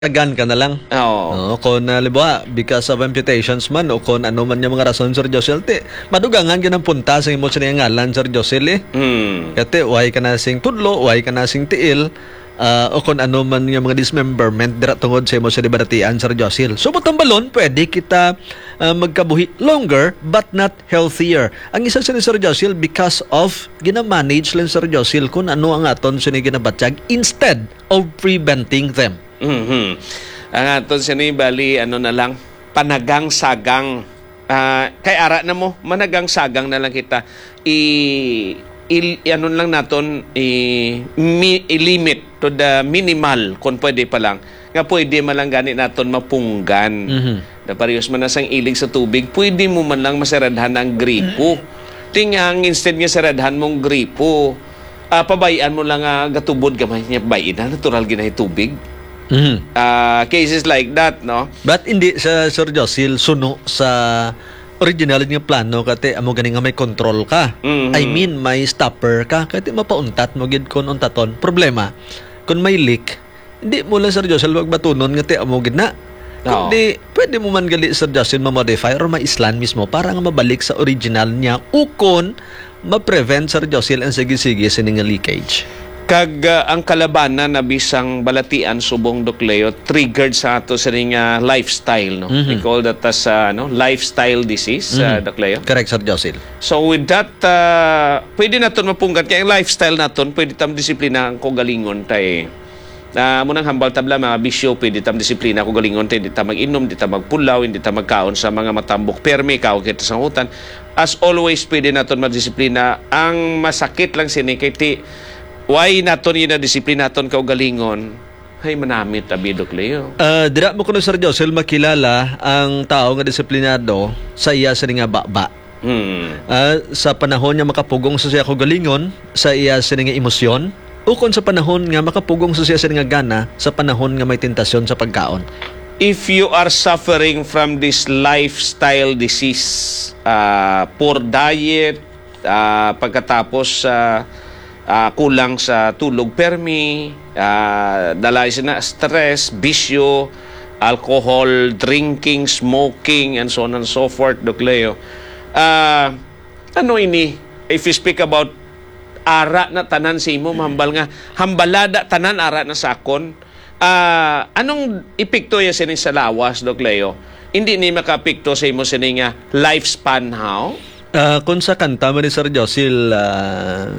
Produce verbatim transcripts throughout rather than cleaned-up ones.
Tagan ka na lang. Oo. Oo, kung, ah, halimbawa, because of amputations man o kung ano man yung mga rason, Sir Josel, ti, madugangan gyud ang punta sa imo sini nga ngalan, Sir Josel, eh. Hmm. Kati, why ka na sing tudlo, why ka na sing tiil, ah, o kung ano man yung mga dismemberment dira tungod sa imo sini balatian, Sir Josel. So, butang balon, pwede kita, ah, magkabuhi longer, but not healthier. Ang isa sini, Sir Josel, because of ginamanage lang, Sir Josel, kung ano ang aton sini ginabatyag instead of preventing them. Mhm. Ang aton sini, bali, ano na lang, panagang-sagang. Ah, kay ara na mo, managang-sagang na lang kita. I, i, ano lang naton, i, mi, i-limit to the minimal, kung pwede pa lang. Nga pwede man lang gani naton mapunggan. Mhm. Na parehas man na sang ilig sa tubig, pwede mo man lang masiradhan ang gripo. Ting ang instead nga siradhan mong gripo, ah, pabay-an mo lang nga gatubod gamay niya, pabay-i na, natural ginahi tubig. Mhm. Ah, cases like that, no? But hindi sa, Sir Josil, suno sa original nga plano, kati amo gani nga may control ka. Mhm. I mean, may stopper ka, kati mapauntat mo gid kon untaton. Problema, kung may leak, hindi mo lang, Sir Josil, magbatunon nga ti amo gid na. Oo. Kundi, pwede mo man gali, Sir Josil, ma-modify or maislan mismo para nga mabalik sa original niya. Ukon, ma-prevent, Sir Josil, ang sige-sige sini nga leakage. Kag, ah, ang kalabanan na bisang balatian subong, Doc Leo, triggered sa ato sini nga lifestyle, no? Mhm. We call that as, ah, ano, lifestyle disease, Mhm. ah, Doc Leo. Correct, Sir Josil. So with that, ah, pwede naton mapunggan kay ang lifestyle naton, pwede tam disiplina ang kaugalingon tay. Ah, amo nang hambal tabla, mga bisyo, pwede tam disiplina kaugalingon tay, di ta mag-inom, di ta magpulaw, hindi ta magkaon sa mga matambok. Permi kaon kita sa utan. As always, pwede naton madisiplina. Ang masakit lang sini kay ti, why naton ginadisiplina aton kaugalingon? Hay, manamit, abi, Doc Leo. Ah, dira mo kuno, Sir Josel, makilala ang tao nga disiplinado sa iya sini nga baba. Hmm. Ah, sa panahon nga makapugong sa siya kaugalingon, sa iya sini nga emosyon, ukon sa panahon nga makapugong sa siya sini nga gana, sa panahon nga may tentasyon sa pagkaon. If you are suffering from this lifestyle disease, ah, poor diet, ah, pagkatapos, ah, ah, kulang sa tulog permi, ah, dalay sina stress, bisyo, alcohol, drinking, smoking, and so on and so forth, Doc Leo. Ah, ano ini? If you speak about ara na tanan sa imo, mahambal nga, hambalada tanan ara na sa akon. Ah, anong epekto ya sini sa lawas, Doc Leo? Hindi ni makaapekto sa imo sini nga lifespan, how? Ah, kung sa kanta man ni Sir Josil, ah,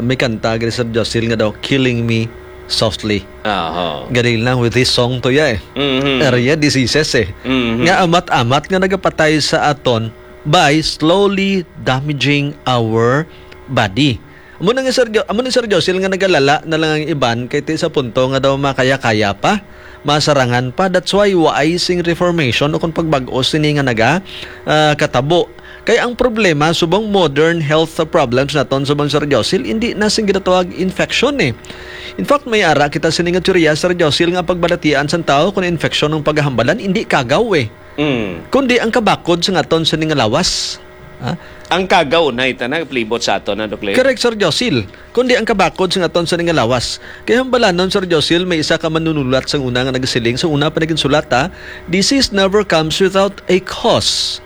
may kanta gani, Sir Josil, nga daw, "Killing Me Softly." Aha. Galing lang with this song to ya, eh. Mhm. Area diseases, eh. Mhm. Nga amat-amat nga nagapatay sa aton by slowly damaging our body. Amo na nga, Sir Jo-, amo ni Sir Josil nga nagalala na lang ang iban kay ti sa punto nga daw makaya-kaya pa, masarangan pa. That's why waay sing reformation o kung pagbag-o sini nga naga, ah, katabo. Kay ang problema subong modern health problems naton subong, Sir Josil, hindi na sing ginatawag infection, eh. In fact, may ara kita sini nga teorya, Sir Josil, nga pagbalatian sang tawo kung infection ang pagahambalan, hindi kagaw, eh. Mm. Kundi ang kabakod sa aton sini nga lawas. Ha? Ang kagaw na ita nagplibot sa aton, na, Doc Leo? Correct, Sir Josil. Kundi ang kabakod sa aton sini nga lawas. Kay hambalanon, Sir Josil, may isa ka manunulat sang una nga nagasiling, sa una pa naginsulat, ha, "Disease never comes without a cause."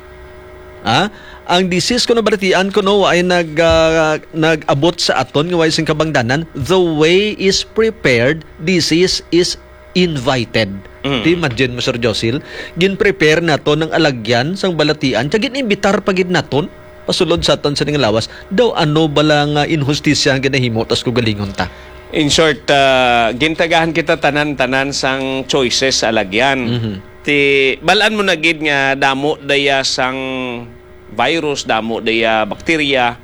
Ha? Ang disease, kung nabalatian ko, no, ay nag, ah, nag-abot sa aton nga way sing kabangdanan. The way is prepared, disease is invited. Mm. Ti, imagine mo, Sir Josil, gin-prepare naton ang alagyan sang balatian, kag gin-imbitar pa gid naton pasulod sa aton sini nga lawas. Daw ano bala nga inhustisya ang ginahimo tas kaugalingon ta? In short, ah, gintagahan kita tanan-tanan sang choices sa alagyan. Mhm. Ti, balaan mo na gid nga damo daya sang virus, damo daya bakterya,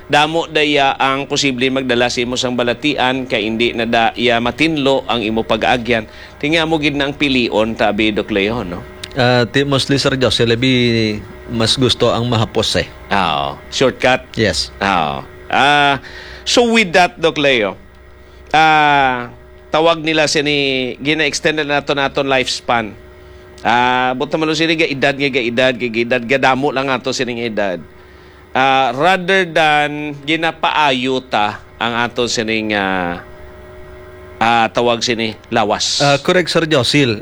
damo daya ang posible magdala sa imo sang balatian, kay indi na daya matinlo ang imo pag-aagyan. Ti nga mo gid na ang pilion, tabi, Doc Leo, no? Ah, ti, mostly, Sir Jose, labi mas gusto ang mahapos, eh. Oo. Shortcut? Yes. Oo. Ah, so with that, Doc Leo, ah, tawag nila sini, gina-extend na nato naton lifespan. Ah, buta man sini ga edad nga ga edad, ga edad, gadamo lang ato sining edad. Ah, rather than ginapaayo ta ang ato sining, ah, ah, tawag sini, lawas. Ah, correct, Sir Josil.